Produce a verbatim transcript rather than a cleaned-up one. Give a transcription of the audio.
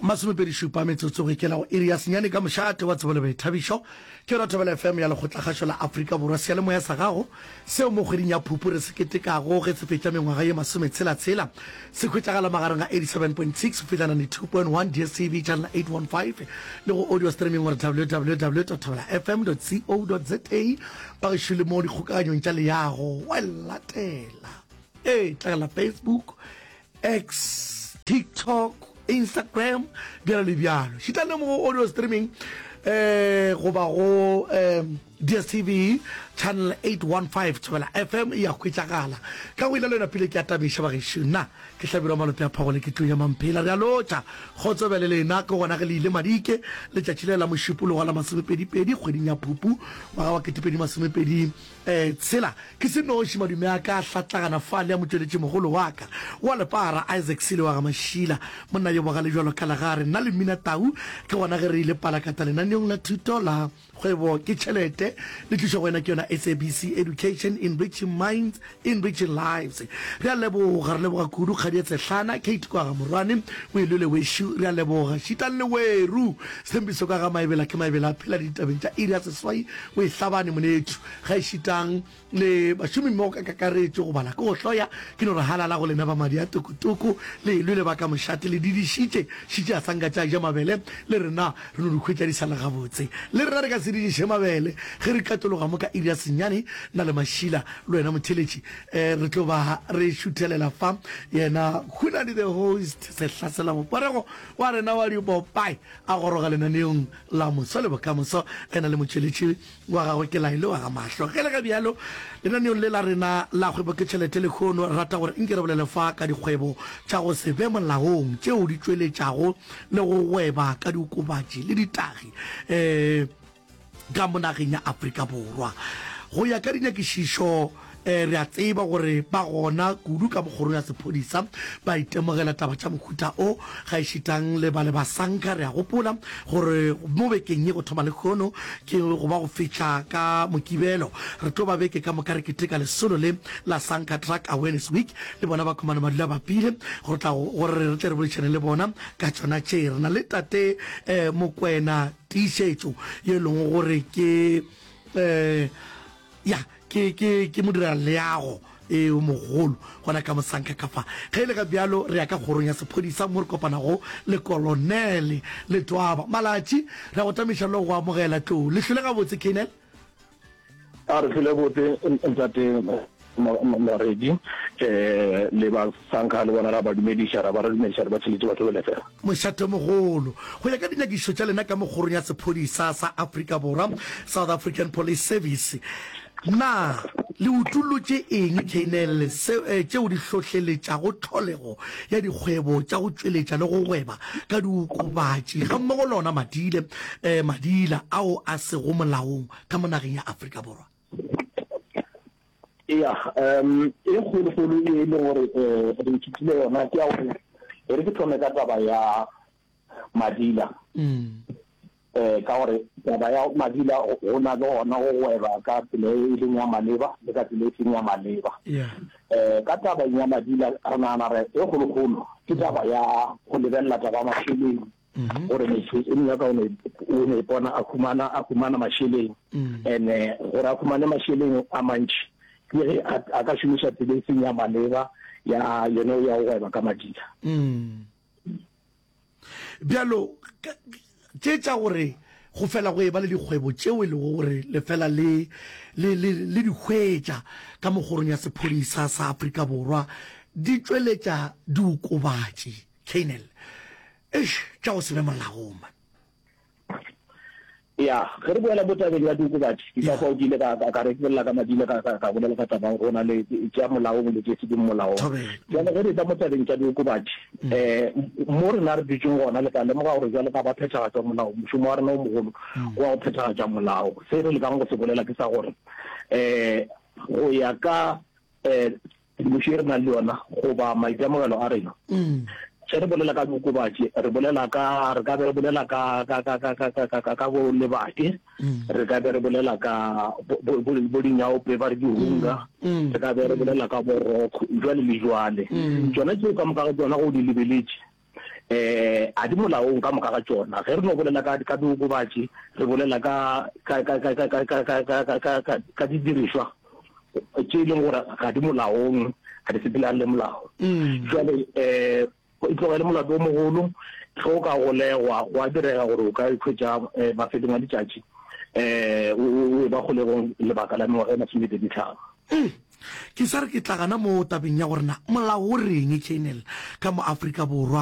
Masomepedi šupa metsotso go ikela go iri ya senyane ka mošate wa tsebo le boithabišo. Ke yona Thobela F M ya Lekgotlakgašo la Afrika Borwa, seyalemoya sa gago seo mo kgweding ya Phupu re se ketekago ge se fetša mengwaga ye masometshela-tshela. Se hwetšagala magareng ga eighty seven point six go fihla ninety two point one D S T V channel eight one five le go audio streaming gore w w w dot thobela f m dot co dot za. Bagešo le mo dikgokaganyong tša leago wa latela. Ee, tlagela Facebook, X, TikTok, Instagram, bjalo le bjalo. Šita le mo go audio streaming eh goba go eh D S T V channel eight one five Thobela F M e a hwetšagala. Ka go ile le yona pele ke a tabiša bagešo. Nna ke Hlabirwa Malope a Phagole ke tlo ya Mamphela. Re a lotša. Kgotso bjale lena ke gona ge le ile Madike letšatši le la Mošupologo la masomepedi-pedi kgweding ya Phupu ngwaga wa ketepedi masomepedi eh tshela. Ke se noši madume a ka a hlatlagana fale a motšweletšimogolo wa ka wa lepara Isaac Sile wa ga Mašila, monna yo bogale bjalo ka legare. Nna le Mmina Tau ke gona ge re ile palakata lenaneong la thuto la Kgwebo ke Tšhelete, le tlišwa go wena ke yona S A B C Education, Enriching Minds, Enriching Lives. Re a leboga, re leboga kudu Kgadi ya Tshehlana, Kate kwa ga Morwane, o e lwele wešo, re a leboga. Šitang le weru, Sthembiso ka ga Maebela ke Maebela a phela ditabeng tša iri ya seswai, o e hlabane monetšu. Ga e šitang le bašomimmogo ka kakaretšo, go bala ke go hloya, ke no re halala go lena ba madi a tokotoko, le e lwele ba ka mošate, le didišitše, šitše a sa nka tša ja mabele, le rena re no di hwetša di sa le gabotse. Le rena re ka se didiše mabele ge re katologa mo ka iri ya senyane, nna le Mašila, le wena motheeletši, eh, re tlo ba re šuthelela fa yena Hunadi the host, sehlasela moporego wa rena wa dipopae, a goroga lenaneong la Moso le Bokamoso, ena le motšweletši wa gagwe ke Laelo wa ga Mahlo. Ge le ga bjalo, lenaneong le la rena la Kgwebo ke Tšhelete lehono, re rata gore nke re bolele fa ka dikgwebo tša go se be molaong tšeo di tšweletšago le go gweba ka diokobatši le ditagi um ka mo nageng ya Afrika Borwa. Go ya ka dinyakišišo, eh, re a tseba gore ba gona kudu ka mokgorong ya sephodisa ba itemogela taba tša mohuta o, gaešitang le ba le ba Sanka. Re a gopola gore mo bekeng ye go thoma lehono ke go ba go fihla ka Mokibelo, re tlo ba beke ka moka re keteka lesolo le la Sanka Drug Awareness Week. Le bona ba khumana madula bapile gore tla gore re tle re boledišane le bona ka tšona tše. Re na le tate eh, Mokwena Tiišetšo ye e leng gore ke eh, ya ke ke ke modiraleago e o mogolo gona ka Mosanka ka fa. Ge e le ga bjalo re ya ka kgorong ya sephodisa mo re kopanago le Kolonele Letwaba Malatši. Re a go tamiša le go amogela tlou. Le hlwele gabotse, Colonel? A re hlwele botse ntate Moredi, eh le ba Sanka le bona ra ba dumediša, ra ba re dumediša re ba tšheletše ba Thobela F M. Mošatomogolo, go ya ka dinyakišišo tša lena ka mo kgorong ya sephodisa sa Afrika Borwa, South African Police Service, na le utollotše eng, Colonel, se, tšeo di hlohleletšago tlholego ya dikgwebo tša go tšweletša le go gweba ka diokobatši gammogo le ona madile, eh, madila ao a sego molaong ka mo nageng ya Afrika Borwa? Eya, um e kgolokgolo e leng gore um re ithutile yona ke ya gore e re ke thome ka taba ya madila. Um ka gore taba ya madila go na le gona go gweba ka tsela e leng ya maleba le ka tsela e seng ya maleba. Um ka taba ya madila re nagana re e kgolokgolo ke taba ya go lebelela taba ya mašeleng. Gore motho o nyaka o no ipona a humana a humana mašeleng, and-e gore a humane mašeleng a mantši ke ge a ka šomiša tsela e seng ya maleba ya yone ya go gweba ka madila. Bjalo tše tša gore go fela go eba le dikgwebo tšeo e lego gore le fela le le le le di hwetša ka mo kgorong ya sephodisa sa Afrika Borwa di tšweletša diokobatši, Colonel. Eish, tša go se be molaong man. Ya, ge re boela mo tabeng ya diokobatši, ke ka fao ke ile ka, ka, ka re ke bolela ka madila, ka, ka, ka bolela ka taba ya gore go na le tša molaong le tše seng molaong. Thobela. Bjale ge re etla mo tabeng tša diokobatši, um mo rena re dutšeng gona, le tla lemoga gore bjale ka ba phethagatša molao, mošomo wa rena o mogolo ke wa go phethagatša molao. Se re lekang go se bolela ke sa gore, um go ya ka um Tshedimošo ye re nang le yona goba maitemogelo a rena, ge re bolela ka diokobatši, re bolela ka, re ka be re bolela ka, ka, ka, ka, ka, ka, ka, ka bo lebake, re ka be re bolela ka bo, bo, bo, bo dinyaope, ba re dihunga, re ka be re bolela ka bo rock, jwale le jwale. Tšona tšeo ka moka ga tšona ge o di lebeletše, um a di molaong ka moka ga tšona. Ge re no bolela ka ka diokobatši, re bolela ka ka ka ka ka ka ka ka ka ka ka ka didirišwa tše e leng gore ga di molaong, ga di sepelane le molao. Jwale um e tloga e le molato o mogolo ge o ka golegwa, gwa direga gore o ka ikhwetša um mafelong a letšatši um o eba kgolegong lebaka la mengwaga e masomepedi tlhano. Ke sa re ke tla gana mo tabeng ya gore na molao o reng, Colonel, ka mo Afrika Borwa.